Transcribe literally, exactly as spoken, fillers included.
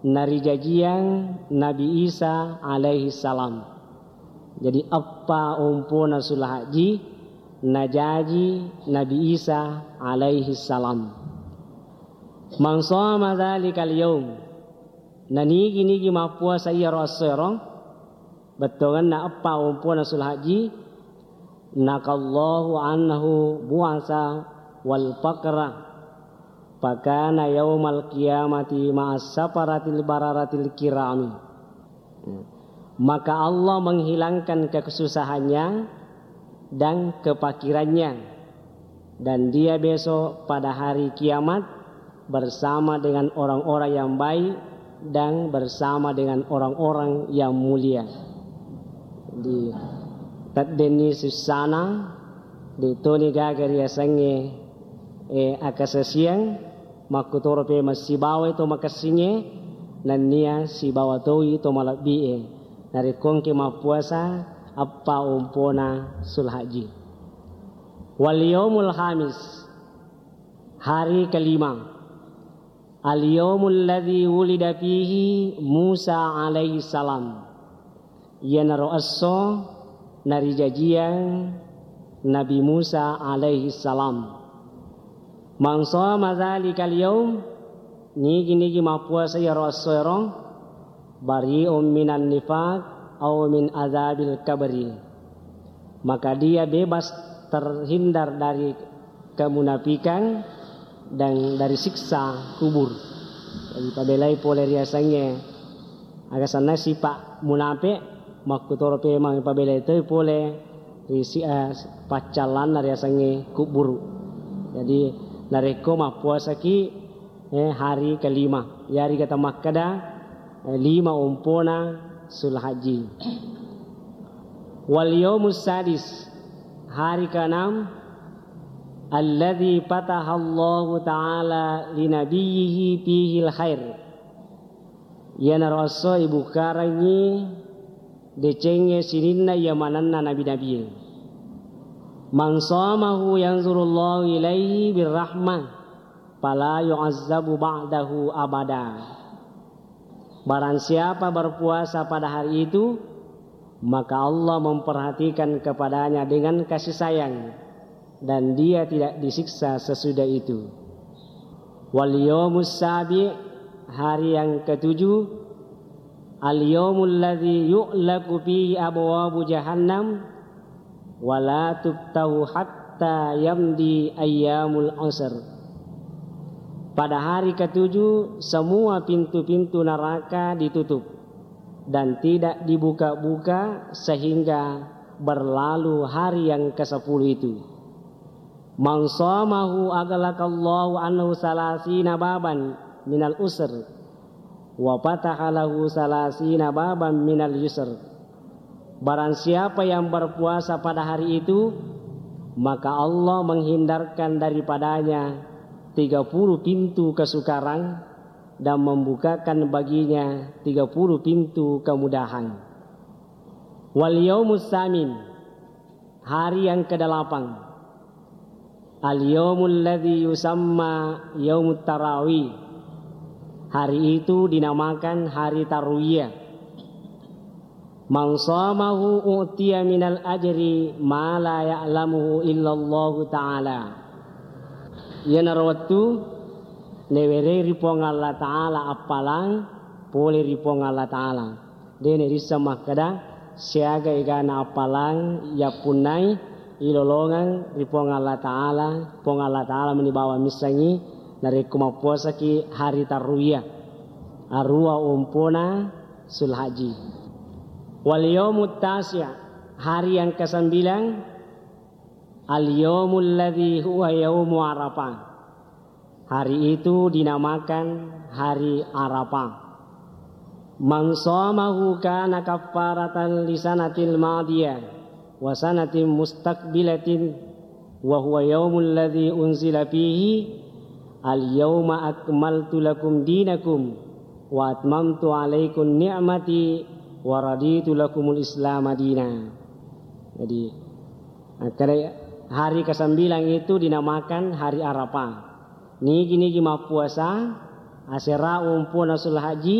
narijajiang Nabi Isa alaihi salam. Jadi, eppa ompona Sulhajji najaji Nabi Isa alaihi salam. Man shoma dzalikal yaum, nanigi-nigi mappuasa iyaro essoero, bettuangenna eppa ompona Sulhajji, naqallahu anhu bu'sa wal faqra, fakana yaumal qiyamati ma'as safaratil bararatil kirami. Maka Allah menghilangkan kesusahannya dan kefakirannya, dan dia besok pada hari kiamat bersama dengan orang-orang yang baik dan bersama dengan orang-orang yang mulia. Di teddenni sussana, de toni gaga riasengnge, eh, akasasiang, makkutoro pe massibawai to makessingnge, nennia sibawa toi to malebbi'e. Narekko engke mappuasa, eppa ompona Sulhajji. Wal yaumul khamis, hari kelima. Al yaumul ladzi wulida fihi Musa alaihi salam. Iyanaro esso narijajiang Nabi Musa alaihi salam. Man shoma dzalikal yaum, nigi-nigi mappuasa iyaro essoero, bari'un minan nifaq au min adzabil kabri. Maka dia bebas terhindar dari kemunafikan dan dari siksa kubur. Jadi, pabelai pole riasengnge aga sanna sipa munape, makkutoro pemang pabelai toi pole ri si-, eh, paccallanna riasengnge kuburu. Jadi, narekko mappuasaki, eh, hari kelima, yariga tamakkeda, eh, lima ompona Sulhajji. Wal yaumus sadis, hari keenam, alladzi fatahallahu ta'ala linabiyyihi fihil khair. Iyanaro esso ibukkarengngi decengnge sininna iya manenna nabi-nabie. Man shamahu yanzurullahu ilaihi birrahmah, fala yu'azzabu ba'dahu abada. Barang siapa berpuasa pada hari itu, maka Allah memperhatikan kepadanya dengan kasih sayang, dan dia tidak disiksa sesudah itu. Wal yaumus sabi, hari yang ketujuh, al yaumul ladzi yu'laqu fihi abwabu jahannam, wala tuftahu hatta yamdi ayyamul asr. Pada hari ketujuh, semua pintu-pintu neraka ditutup dan tidak dibuka-buka sehingga berlalu hari yang kesepuluh itu. Man shamahu aghlaqallahu anhu salasina baban minal usr, wa fataha lahu salasina baban minal yusr. Barang siapa yang berpuasa pada hari itu, maka Allah menghindarkan daripadanya tiga puluh pintu kesukaran dan membukakan baginya tiga puluh pintu kemudahan. Wal yaumus samin, hari yang kedelapan. Al-yaumul ladzi yusamma yaumut tarawih. Hari itu dinamakan hari tarwiyah. Man shamahu u'tiya minal ajri ma la ya'lamuhu illallahu ta'ala. Iyanaro wettu nawerei ri Puang Allah Ta'ala appalang pole ri Puang Allah Ta'ala. De' nairisseng makkeda siaga egana appalang yappunnai ilolongeng ri Puang Allah Ta'ala, Puang Allah Ta'ala meni bawang missengngi narekko mappuasaki hari tarwiyah, aruwa ompona Sulhajji. Wal yaumut tasi', hari yang kesembilan, al yaumul ladzi huwa yaumu Arafah. Hari itu dinamakan hari Arafah. Man shamahu kana kaffaratan li sanatil madiyah wa sanatin mustaqbilatin, wa huwa yaumul ladzi unzila fihi, al yauma akmaltu lakum dinakum wa atmamtu alaikum ni'mati wa raditu lakumul islama dina. Jadi, Akkeda, hari kesembilan itu dinamakan hari Arafah. Nigi-nigi mappuasa, asera ompona Sulhajji,